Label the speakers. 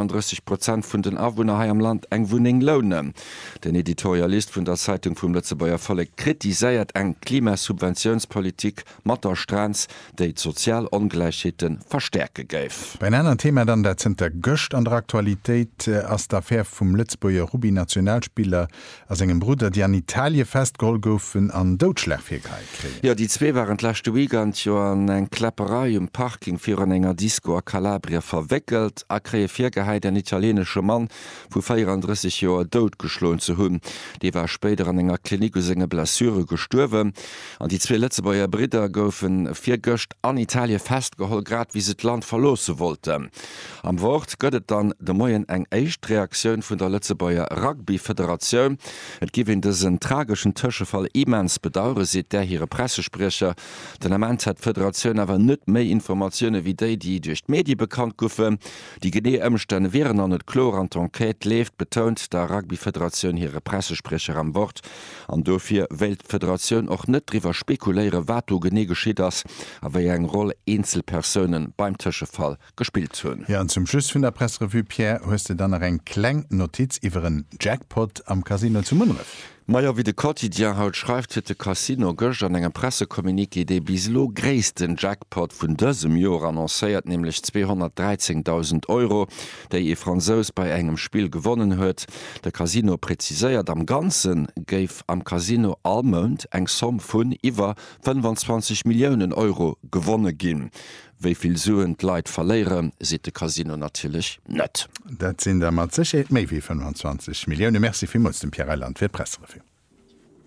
Speaker 1: 30 Prozent vun den Awunner hei am Land eng Wunneng lounen. Den Editorialist vun der Zeitung vum Lëtzebuerger Vollek kritiséiert eng Klimasubventiounspolitik mat der Strenz, déi d'sozial Ongläichheete verstäerke géif.
Speaker 2: Bei en aneren Thema dann, dat zënter gëscht an der Aktualitéit ass, d'Affär vum Lëtzebuerger Rugby-Nationalspiller a sengem Brudder, déi an Italie festgeholl goufen an Doudschlag virgeheit kréien.
Speaker 1: Jo, déi zwee waren d'leschte Weekend jo an eng Kläpperei um Parking virun enger Disco a Kalabrien verwéckelt a kréie virgehäit, en italienesche Mann vu 34 Joer doutgeschloen ze hunn. Dee war spéider an enger Klinik u senge Blessure gestuerwen. An déi zwee Lëtzebuerger Bridder goufe virgëscht an Italie festgeholl, grad wéi se d'Land verloosse wollten. Am Wort gëtt et dann de Moien eng éischt Reaktioun vun der Lëtzebuerger Rugby-Federatioun. Et giff een dësen trageschen Tëschefall immens bedauere seet där hire Pressespriecher. Den Ament hätt d'Federatioun awer net méi Informatioune wéi déi, déi duerch d'Medie bekannt goufen. Déi genee Ëmstänn wieren nach net kloer an d'Enquête leeft, betount der Rugby-Federatioun hire Pressespriecher am Wort. An dofir wéilt d'Federatioun och net driwwer spekuléieren, wat do genee geschitt ass a wéi eng Roll eenzel Persoune beim Tëschefall gespillt hunn.
Speaker 2: Jo, an zum Schluss vun der Presserevue, Pierre, hues de dann nach eng kleng Notiz iwwer en Jackpot am Casino zu Munneref?
Speaker 1: Majo, wéi de Quotidien haut schreift, huet de Casino gëscht an engem Pressecommuniqué dee bis elo gréissten Jackpot vun dësem Joer annoncéiert, nämlech 213.000 Euro, déi ee Fransous bei engem Spill gewonnen huet. De Casino präziséiert, am Ganze géif am Casino all Mount eng Somm vun iwwer 25 Milliounen Euro gewonne ginn. Wéi vill Suen d'Leit verléieren, seet de Casino natierlech net.
Speaker 2: Dat sinn der mat Sécherheet méi wéi 25 Millioune. Merci villmools dem Pierre Reyland fir d'Presserevue.